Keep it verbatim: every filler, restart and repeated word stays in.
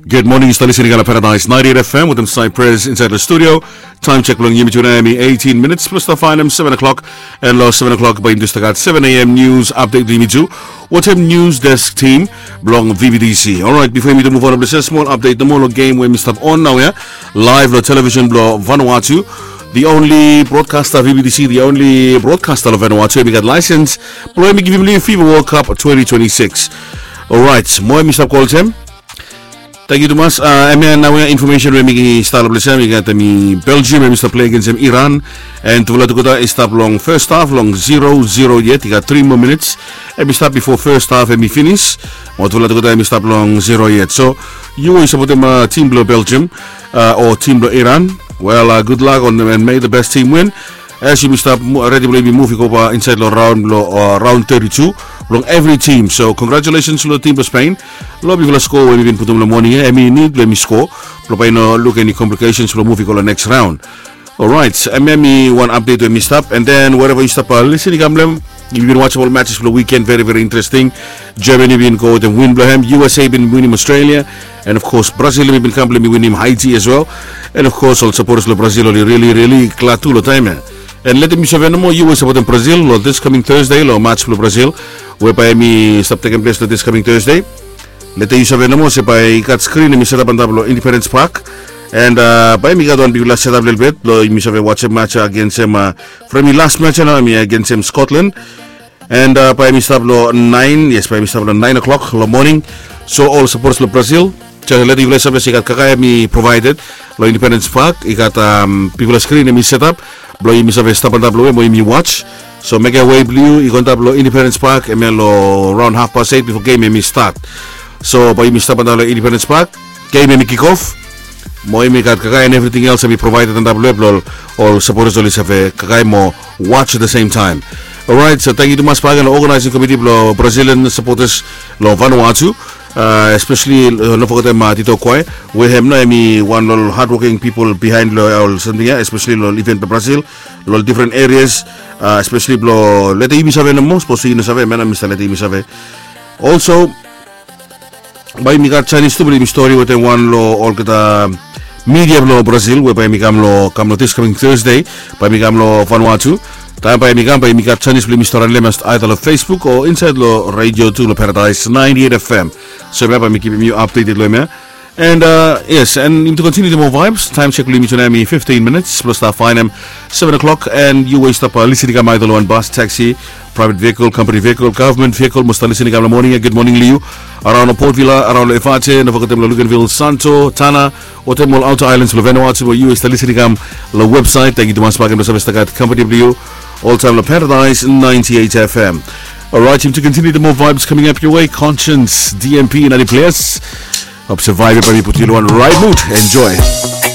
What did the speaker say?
Gud moning, yu stap lisin i kam long Paradise ninety-eight F M wetem Cypress insait long studio. Taem sek blong yumi tude em i eighteen minits plus tafan em seven o'clock. And long seven o'clock bae yumi tu stap gat seven A M news update blong yumi tu wetem news desk team blong V B T C. Orait, bifo yumi tu move on, blong sem smol update nomo long game we mi stap on naoia live long television blong Vanuatu. The only broadcaster, V B T C, the only broadcaster long Vanuatu em i gat laesens blong em i givim long yumi FIFA World Cup twenty twenty-six. Orait, mo em i stap go olsem. Tangkiu tumas. Em ya naoia infomesen we mi stap long ples ya, mi gat em i Belgium em i stap plei agensem Iran. And tufala tugeta i stap long fes haf long zero zero yet, i gat tri moa minits. Em i stap bifo fes haf em i finis. Mo tufala tugeta em i stap long zero yet. So yu we yu sapotem tim blong Belgium o tim blong Iran, wel, gudlak and may the best team win. As yumi stap redi blong yumi muv i go bae insait long raon blong raon thirty-two blong evri tim. So congratulations long tim blong Spain long bigfala skoa we mi bin putum long moning ya. Em i nid blong yumi skoa blong bae i no luk eni complications blong muv i go long next raon. Orait, em ya em i wan update we mi stap. And then wherever yu stap lisin i kam long em, yumi bin wasim ol matches blong weekend, very very interesting. Germany bin go wetem win blong em, U S A bin winim Australia. And of course Brazil em i bin kam blong em i winim Haiti as well. And of course ol supporters blong Brazil oli really really glad tu long taem ya. And letem yu save nomo, yu we yu sapotem Brazil long this coming Thursday long match blong Brazil we bae em i stap tekem ples long this coming Thursday. Letem yu save nomo se bae i gat screen em i setap antap long Independence Park. And bae em i gat wan bigfala setap lelebet blong yumi save wasim match agensem from em i las match ya nao em i agensem Scotland. And bae em i stap long naen, yes, bae em i stap long naen o'clock long moning. So ol supporters blong Brazil, jes letem yufala i save se i gat kakae em i provided long Independence Park. I gat bigfala screen em i setap blong yumi save stap antap long we mo yumi was. So mekem wei blong yu i go antap long Independence Park em ya long raon haf pas eit bifo game em i stat. So bae yumi stap antap long Independence Park, game em i kick off. Mo em i gat kakae and everything else em i provided antap long we blong ol supporters oli save kakae mo was at the same time. Orait, so tangkiu tumas bakegen long organizing committee blong Brazilian supporters long Vanuatu. Especially no fogetem Tito Koe we hem nao em i wan long ol hardworking people behind long ol samting ya, especially long ol event blong Brazil long ol different areas. Especially blong letem yumi save nomo, sapos yu no save, em ya nao mi stap letem yumi save. Also bae yumi gat sanis tu blong yumi stori wetem wan long olgeta media blong Brazil we bae em i kam long, kam long this coming Thursday. Bae em i kam long Vanuatu. Taem bae em i kam, bae yumi gat sanis blong yumi stori long em aether long Facebook o insait long radio tu long Paradise ninety-eight F M. So em ya bae mi kipim yu updated long em ya. And yes, and yumi tu continue the more vibes. Taem sek blong yumi tu nao em i fifteen minutes plus tafan em seven o'clock. And yu we yu stap lisin i kam aether long wan bus, taxi, private vehicle, company vehicle, government vehicle, mo stap lisin i kam long moning ya, gud moning long yu. Araon long Port Vila, araon long Efate, no fogetem long Luganville, Santo, Tanna, wetem ol outer islands blong Vanuatu we yu we yu stap lisin i kam long website. Tangkiu tumas bakegen blong save stap gat company blong yu oltaem long Paradise ninety-eight F M. Orait, yumi tu continue the more vibes coming up your way. Conscience, D M P, ninety plus. Hope se vibe ya bae mi putum yu long wan right mood. Enjoy.